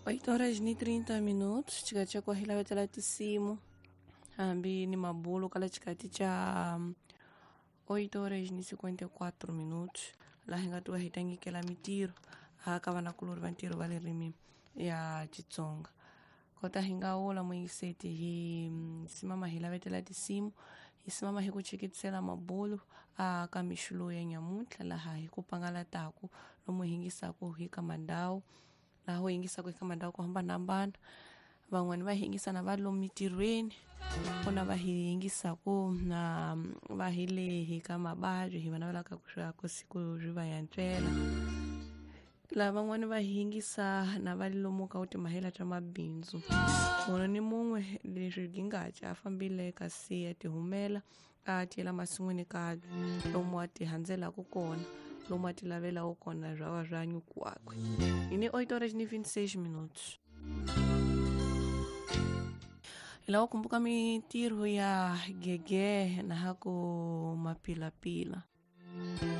8 horas ni 30 minutos chikati cha kuahilavetela tisimu hambi ni mabulu kala chikati cha 8 horas ni 54 minutos laha hi nga tiva hi tangikela mitiro aka vanakulori va ntirho va ririmi ya Xitsonga. Kota hi nga wula muyingiseti hi simama hi lavetela tinsimu hi simama hi ku cheketisela mabulu aka mixo lowu ya nyamuntlha laha hi ku pangalataku lomu hi yingisaku hi ka mandhawu laha u yingisaku hi ka mandhawu ku hambanahambana. Van'wani va hi yingisa na va lomu mitirhweni ku na va hi yingisaku na va hi le hi ka mabadi hi va navelaka ku siku ri va yantswela. Laha van'wani va hi yingisa na va lomu ka timahela ta mabindzu munhu ni mun'we leswi gingaca a fambile kasi ya tihumela a tiyela masin'wini ka lomu a ti handzelaku kona lomu a ti lavelaku kona bya swa nyuku wakwe. Hi ni 8 horas ni 26 minutos. Hi lava ku kumbuka mintirho ya gege na ha ku mapilapila.